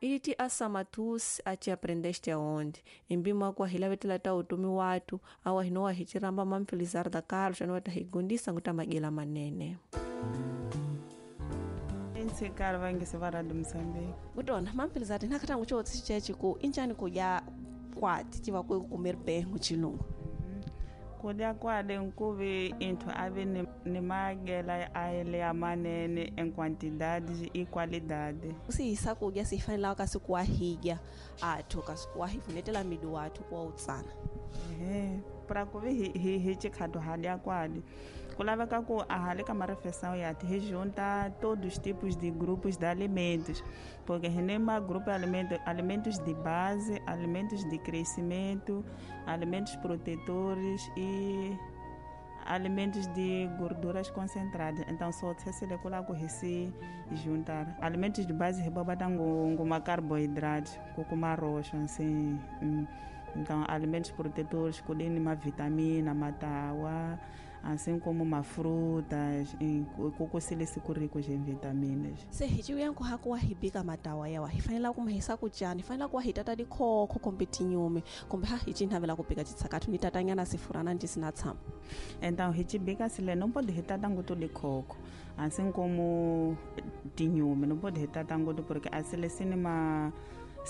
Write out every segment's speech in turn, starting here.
Iliti asamatusi ati aprendeste aonde embima kwa hilavetela ta utumi watu awa hinowa hichiramba mamfelizarda Carlos anowata higundisa nguta magela manene. Nsikar vangi sevara de Moçambique. Utona mamfelizarda nakata ngucho chechi ku inchani kuya kwati tiva ku comer bem muchilungu. Kudya kwade nkuvi into ave ni magela aele ya manene em quantidade e qualidade. Usihisa kudya sifanela kasi kuwahidya athu kasi kuwahivunetela midu wathu kuwa utsana. Para kuvi hi chikhatu hadya kwade. Kulaveka ku ahali ka marefeição ya te junta todos os tipos de grupos de alimentos, porque renema grupo de alimentos, alimentos de base, alimentos de crescimento, alimentos protetores e alimentos de gorduras concentradas. Então só se le ku se juntar alimentos de base rebaba ngoma carboidratos, com arroz assim. Então alimentos protetores com uma vitamina, matawa, assim como uma frutas, kukusile sikuriko em vitaminas. Se hichiuya nkuhaku wahibika matawa yawa hifanela kumhisa kuchani, hifanela kuwahitata dikhokho kombe tinyume, kombe ha hichinhavela kupika chitsakathu nitatanyana sifurana ntisina tshama. Então hichibika sile não pode hitata ngutu dikhokho, assim como tinyume, não pode hitata ngutu porque asile sinima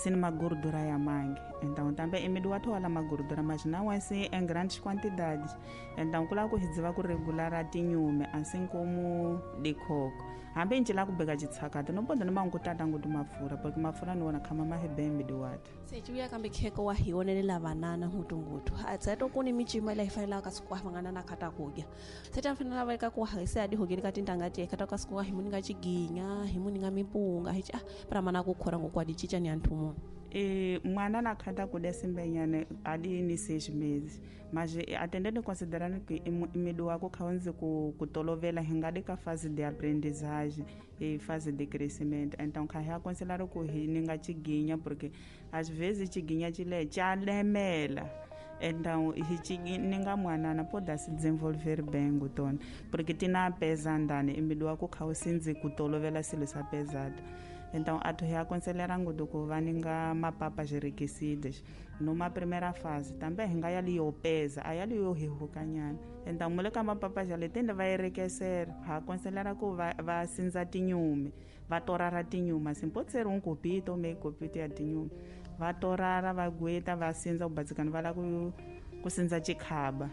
uma gordura ya mangue. Então também imidu watu wala magordura, mas não assim em grandes quantidades. Então kula ku hidziva ku regular atinyume assim como de coco. Hambe nje la kubeka chitsakata no pode noma ngutata ngutu mafura porque mafura ni wona khama mahebe imidu watu. Sechuya kambe kheko wa hionelela banana ngutu. Atsato kuni michima ila ifanela kasukwa vangana na khata kudya. Seta mfanela valika ku haise adi hogeni katindangati khata kasukwa himuninga chiginya, himuninga mipunga hichi para mana kukhora ngokwadi chicha ni anthu. E mwana na khata kudya simbenyane adi ni 6 meses, mas atendendo considerando que imidu wako khaonze ku kutolovela hingadi ka fase de aprendizagem e fase de crescimento. Então kha aconselhar ku hininga chiginya porque às vezes chiginya chile chalemela. Então hichininga mwana na pode se desenvolver bem ngutona porque tina pesa ndani imidu wako khausinzi kutolovela silo sa pesado. Então atu aconselhar ngutu ku vaninga mapapa enriquecidas numa primeira fase também hinga yali yo pesa ayali yo hihukanyana. Então muleka mapapa jale tende vai enriquecer aconselhar ku va sinza tinyume va torara tinyuma assim pode ser um copito ou meio copito ya tinyume va torara va gueta va sinza ubatsikana va la ku sinza chikhaba.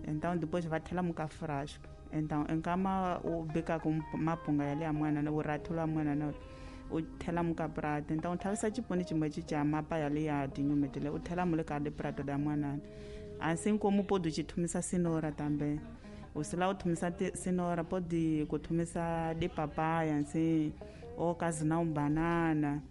Então depois va thela muka frasco. Então enkama u bika ku mapunga yali ya mwana na urathula mwana na u thela muka prato. Então thavisa chiponi chimwe chicha mapa yali ya tinyume tele u thela mule ka de prato da mwana. Assim como pode chithumisa cenoura também. O se lá u thumisa cenoura pode kuthumisa de papaya assim ou caso não banana.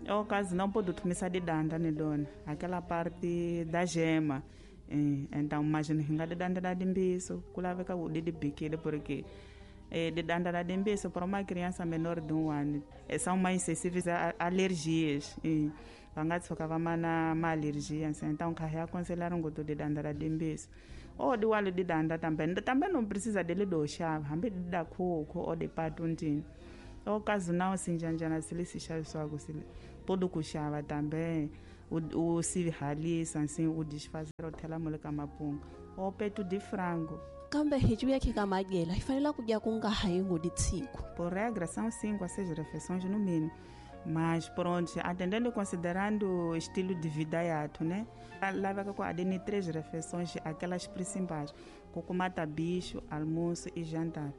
Ou caso não pode thumisa de danda ne dona, aquela parte da gema. Então imagina hinga de danda da dimbiso, kulaveka u de bikile porque de danda da dimbiso para uma criança menor de 1 ano são mais sensíveis a alergias. Vangatsoka vamana ma alergia assim. Então kha aconselhar um goto de danda da dimbiso ou de walo de danda também não precisa dele do chá, hambe da coco ou de patuntini. O caso não assim janjana se se chave só sile pode kuxava também o se ralisa assim o desfazer o thela muleka mapunga ou peito de frango. Kambe hichuya khika magela ifanela kudya kunga hayi ngoditsiku. Por regra são 5 a 6 refeições no mínimo. Mas pronto, atendendo e considerando o estilo de vida yato, né? Leva com a 3 refeições, aquelas principais, com bicho, almoço e jantar.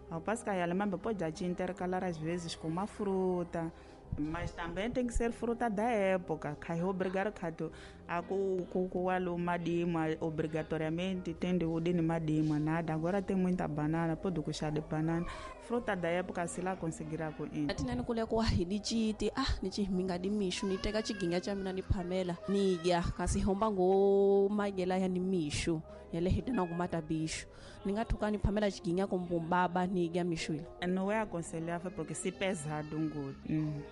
Ao passo que a alemã pode intercalar às vezes com uma fruta, mas também tem que ser fruta da época. Cai obrigar a ku madima obrigatoriamente tem de udini madima nada. Agora tem muita banana, pode kuxar de banana. Fruta da época se lá conseguirá com isso. Atinani kule kwa hidichiti ni chiminga di mishu ni teka chiginga cha mina ni pamela ni ya kasi homba ngo magela ya ni mishu yale hidana kumata bishu ningathuka ni pamela chiginga kumbumbaba ni ya mishu ile. Não é aconselhável porque se pesado um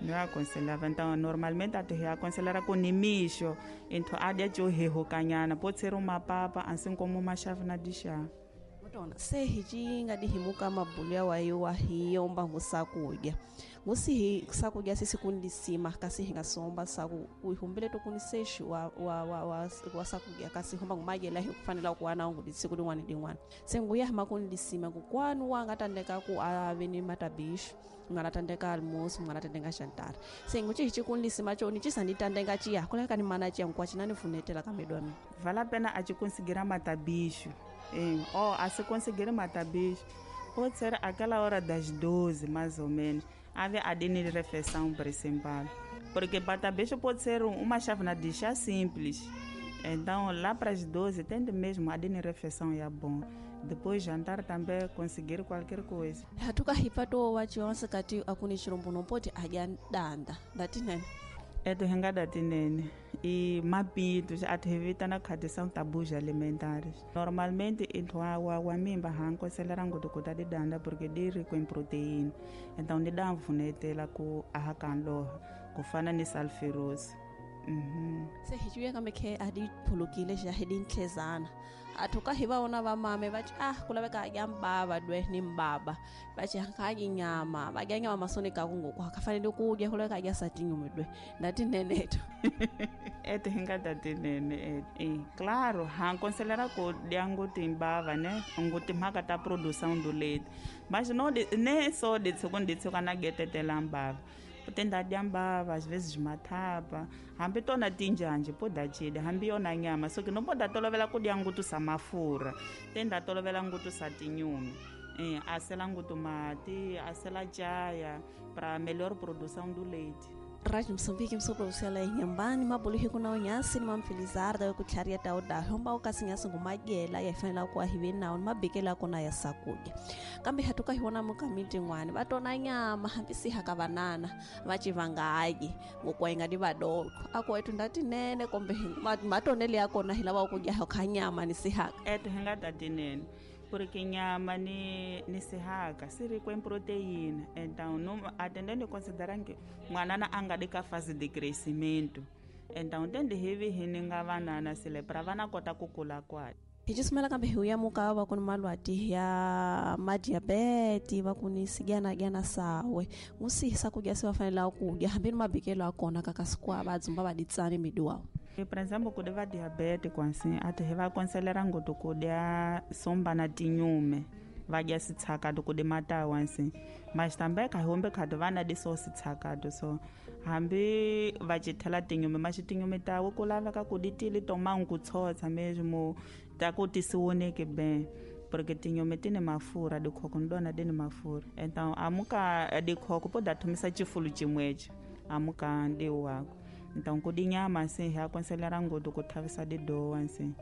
Não é aconselhável. Então, normalmente, a aconselhar com micho. Então, a de hukanyana pode ser uma papa, assim como uma chávena de chá. Mutona, se hichinga dihimuka mabulia wa hiwa hiyomba ngusakudya. Ngusihi sakudya sisi kundisima kasi hi nga somba saku u humbile to kuni sexi wa sakudya kasi humba ngumadyela hi kufanela ku wana ngu siku lin'wana ni lin'wana. Se nguya hama kundisima ku kwanu wa nga tandeka ku a ve ni matabixu, nga na tandeka almoço, nga na tandeka jantar. Se ngu ci kundisima coni ci sandi tandeka ciya kuleka ni mana ciya nkwa cina ni funetela ka medu wa mina. Vale a pena a ci conseguir matabixu. A se conseguir matabixu pode ser aquela hora das 12, mais ou menos, haver a de refeição principal. Porque batabicho pode ser uma chávena de chá simples. Então, lá para as 12, tem mesmo a de refeição é bom. Depois jantar também conseguir qualquer coisa. Hatuka hipato wachi kati akuni chirombo nompoti adya danda. Dati nene? Eto hinga dati nene. E mapitos atevitana khati são tabus alimentares. Normalmente intwa wa mimba hanko selerango do kota de danda porque de rico em proteína. Então de dá vunetela ku ahakanlo kufana ni salferose. Se hijuya kambe khe adi phulukile xa hidintlezana. Athuka hi va vona vamame va ci kulaveka adya mbava dwe ni mbaba va ci hakadyi nyama va dya nyama masoni ka kungoku akafanele ku dya kulaveka adya satinyume dwe ndati neneto. Eto hi nga tatinene claro ha considera ku dya ngoti mbava ne ngoti mhaka ta produção do leite mas não nem só de segundo de na getetela mbava tenda dya mbava às vezes mathapa hambi tona tinjanje poda chida hambi yona nyama so que não poda tolovela ku dya ngutu sa mafura tenda tolovela ngutu sa tinyume asela ngutu mati asela chaya para melhor produção do leite. Rádio Moçambique msoproducela inyambani mabuluhi kuna unyasi ni mamfelizarda ku tlharia ta uda homba ukasinyasi ngumadyela ya fanela ku ahive nawo ni mabekela kona ya sakudya kambe hatuka hi vona mukamiti n'wana va tona nyama hambi si haka vanana va ci vangayi ngokwa inga ni vadoko ako etu ndati nene kombe matonele ya kona hi lava ku dya kha nyama ni sihaka etu hi nga tati nene porque nyama ni sihaka se rico em proteína. Então não atendendo considerando que mwanana anga de ka fase de crescimento. Então tende heavy hininga vanana sile para vana kota kukula kwa. Hijisumela kambe huya muka va kuni malwati ya madiabete va kuni sigyana gyana sawe ngusihisa kudya se va fanela kudya hambi ni mabekelo ya kona kakasikwa va dzumba va ditsani miduwa. Por exemplo, ku va diabete kwansi ati hi va aconselhar ngoti ku dya somba na tinyume va dya sitshakato ku di matawa nsi mas também ka humbe khati va na di so sitshakato so hambi va cithela tinyume mas tinyume tawe ku laveka ku di tili tomangu ku tshotsa mesmo ta ku ti si voneke bem porque tinyume ti ni mafurha dikhoko ni dona di ni mafurha então amuka dikhoko po da thomisa chifulu chimwecho amuka ndi wako. Então ku di nyama assim hi aconselhar ngoti ku thavisa didowa assim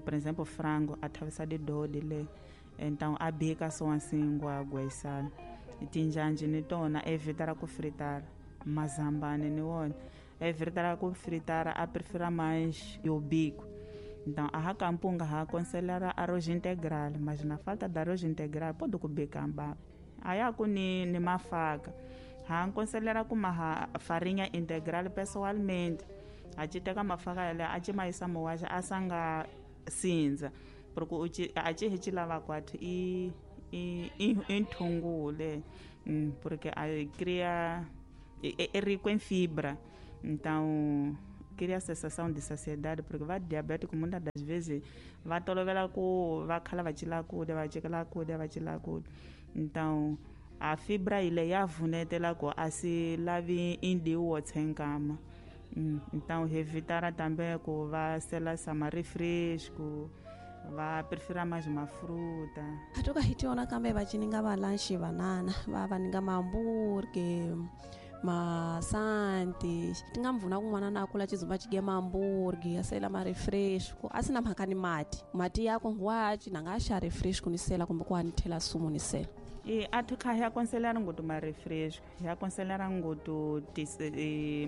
por exemplo frango a thavisa didowa dile então a bika so assim ngwagwa isala tinjanje ni tona evitara ku fritara mazambane ni wona evitara ku fritara a prefira mais yo bico. Então a hakampunga ha aconselhar arroz integral mas na falta de arroz integral pode ku bika mbaba aya ku ni mafaka ha aconselhar ku maha farinha integral pessoalmente a ci teka mafaka yale a ci maisa mowaxa a sanga sindza porque a ci hi ci lava kwathu i nthungule porque a cria é rico em fibra então cria a sensação de saciedade porque va diabético muitas das vezes va tolovela ku va khala va cila kudya va cikela kudya va cila kudya então a fibra ile ya vunetela ku a si lavi indiwo tsenkama. Então evitara também ku va sela sama refresco va prefira mais uma fruta. Hatuka hitiona kambe va cininga va lanche banana va va ninga mamburge masanti tinga mvuna kun'wana na kula chizumba chidya mamburgi asela ma refresco asina mhaka ni mati mati yako ngwachi nanga asha refresco ni sela kumbe ku anithela sumu ni sela. Athu kha hi aconselhar ngoto ma refresco hi aconselhar ngoto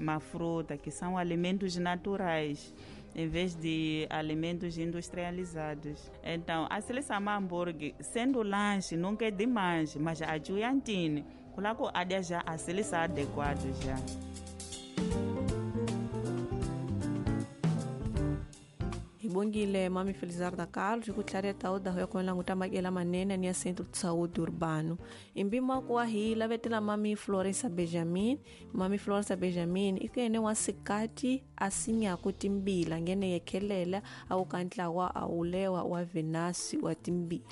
ma fruta que são alimentos naturais em vez de alimentos industrializados. Então a seleção hambúrguer sendo lanche nunca é demais mas a juiantine kulako adia já a seleção adequado já. Hi Bongile mami Felizarda Carlos kutlhareta oda ya kuela nguta magela manene ni ya Centro de Saúde Urbano. Imbima kuwa hi lavetela mami Florença Benjamin, mami Florença Benjamin ikene wa sikati asinya kutimbila ngene yekelela au kantla wa aulewa wa Venasi wa timbila.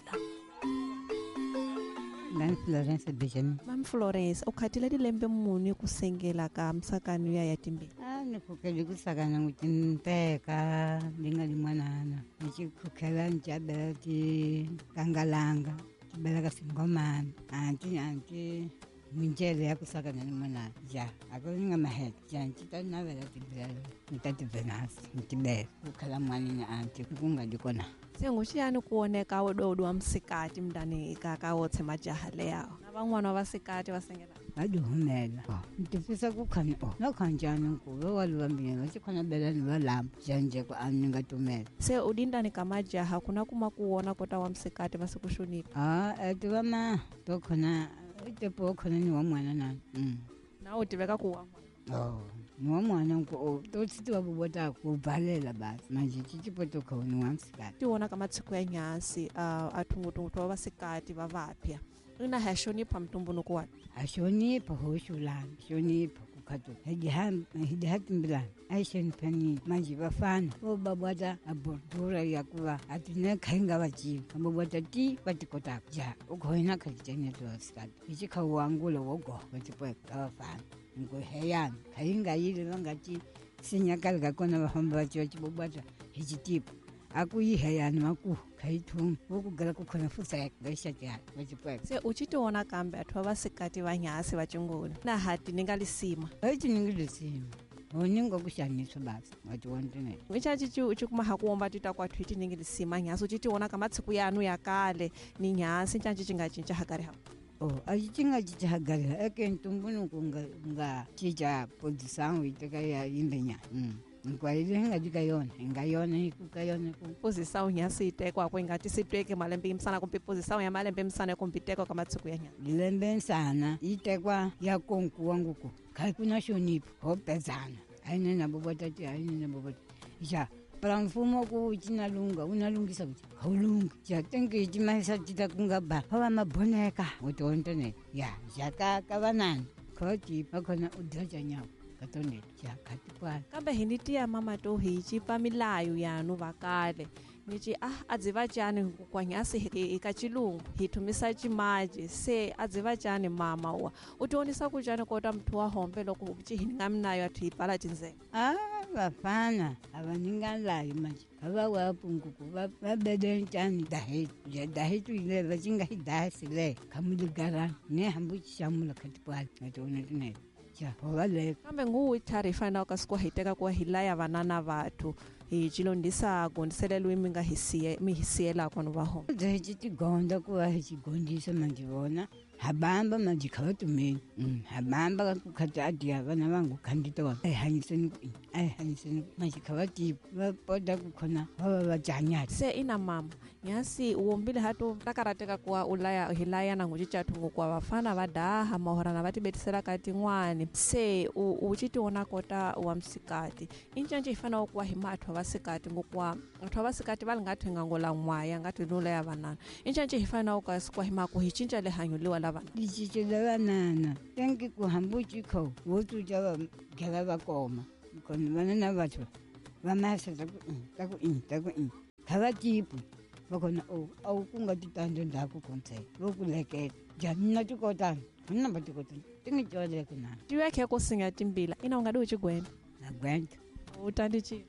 Mami Florence Benjamin. Mami Florence, ukhatile dilembe muni kusengela ka msakano ya timbila? Nikhokele kusakana ngutimpeka ndingalimwanana nichikhokhela nchabela ti kangalanga tibela ka singomana anti anti minjele ya kusakana ni mwanana ja akuninga mahele ja nchitanavela tibela nitativenasi ntibela kukhala mwanini anti kungadikona senguxiyani kuoneka wododo wa msikati mndani kakawotse majaha leyawo na van'wana va sikati va sengela vadihumela ntifisa kukhanya nokhanjani nkuve waluvambile vachikhona belani valamba janjeko aninga tumela se udindani ka majaha kuna kuma kuwona kota wa msikati va sikuxunipha tivama tokhona itepo khona ni wa mwana na na u tiveka ku wa mwana ni wa mwana nku totsitiwa vuvota ku balela basi manje cicipo tokho ni wa msikati tiwona ka matsiko ya nyasi athungutungu twa vasikati va vapya ina haxonipha mtumbunuku wa haxonipha hoxulana xonipha kukhatu hidihatimbilana aixoniphani manje vafana vo babwata abordura ya kuva atine khainga vaciva vabwata ti vatikotaka ja ukhoina khacicanyati vasikati icikha wangula wogoha vatipweka ka vafana nkuheyana khainga yile vangati sinyakali kakona vafamba vaciva cibobwata hicitipa akuyiheyani maku khayithunga vokugala kukhona fuseka ngaxatyana vacipweka se ucitiwona kambe athu va vasikati va nyasi va cingula na hati ni nga lisima aci ni nga lisima honinga kuxaniswa basi watiwontinene icaci ucikuma hakuwomba tita kwathu iti ningi lisima nyasi ucitiwona ka matsiku yanu ya kale ni nyasi ncanci ci nga cinca hakari ha aci ci nga cinca hakari ha eke ntumbunuku nga cinca posição iteka ya yimbenyana nkwalile hingadika yona ingayona ikukayona posição nyasi itekwa ko ingati sitweke malembe imsana kumbe posição ya malembe imsana kumbe itekwa ka matsiku ya nyana lembe nsana itekwa ya konkuwa nguku khakuna xonipho ho pezana ayine nabo botati ayine nabo botati ja para mfumo ku cinalunga unalungisa kuti haulungi ja tenke cimahisa cita kungaba hova maboneka utiontonela ya ja ka vanani khoti vakhona udya nyawo kambe hi ni tiya mama to hi cipa milayo yanu vakale ni ci a dzi va cani kwanyasi hi ka chilungu hi thumisa cimaji se a dzi va cani mama wa u tionisa ku cani kota muthu wa hombe loko ci hi nga minayo athu hi pfala tindzela vafana a va ninga layo manje va wa punguku va bede cani dahetu ja dahetu ile va cinga hi dahasi le khamuligarana ne hambu xamula khatipwala ngationa tinene kambe nguwu ithari hi fanelaka ka siku hi teka kuwa hi laya vanana vathu hi cilondisa gondisele mi nga mi hi siyelaka no va hona hi ci tigonda ku va hi cigondisa manje vona habamba manje kha va tumeni habamba ku khati adiya vana vangu khandita wa ai hanyiseni ku ai hanyiseni manje kha va tipa va poda ku khona va va va janyati se ina mama nyasi uwombile hatu takarateka kuwa ulaya hi laya na nguci chathu kuwa vafana va daha mahorana va tibetisela ka tin'wani se u ci tiwona kota wa msikati incanci hi fanele kuwa hi mathu va sikati ngokuwa athu va sikati va li nga thenga ngola n'waya nga ti nula ya vanana incanci hi fanele ka sikuwa hi maku hi cinca lihanyo liwa la vana licince la vanana tenki ku hambu cikho wo tuca va gela va koma kona vanana vathu va mahisa ta ku ta ku ta ku kha va tipu va kona a wu ku nga titando ndhaku khontsela vo ku lekela jani na tikotana na va tikotana ti ngi coleke na tiwekhe ku singa timbila ina u nga di u cigwenda na gwenda u tandi ci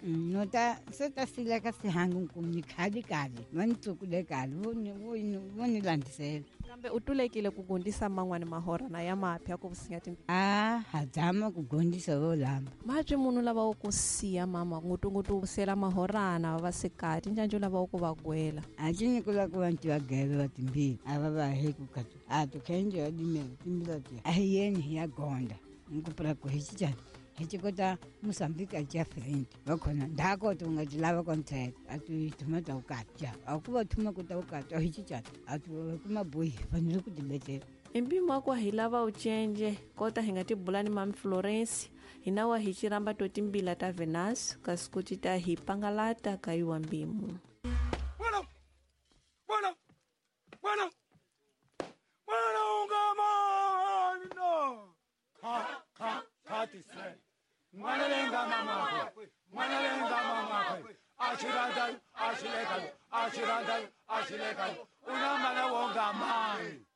no ta se ta sileka sihangu nkum ni khali kali va ni tsukule kali vo ni landisela kambe u tulekile ku gondisa man'wani mahora na ya mapya ku vusinya timbila ha dzama ku gondisa vo lamba mabyi munhu lava wo ku siya mama ngutungutu sela mahorana va vasikati ncancu lava wo ku va gwela a ci ni kula ku vanti va gele va timbila a va va he ku khatu a to khenje va dimela timbila ti a hi yeni hi ya gonda nkupula ku hi cicani hi cikota Mosambiki a ca frente va khona ndhako to nga ti lava kontsela a tu thuma ta ukati ja a ku va thuma ku ta ukati a hi cicani a tu kuma boyi fanele ku tibetela Empimo wa hi lava ucenje kota hi nga tibula ni mami Florence hina wa hi ciramba to timbila ta Venus kasi kuti ta hi pangalata ka yuwa mbimu. Bueno, bueno, bueno, bueno, ungamano. Ka, ka, katise. Mwanalenga mama, mwanalenga mama. Achiranda, achileka, achiranda, achileka. Unamana wongamani.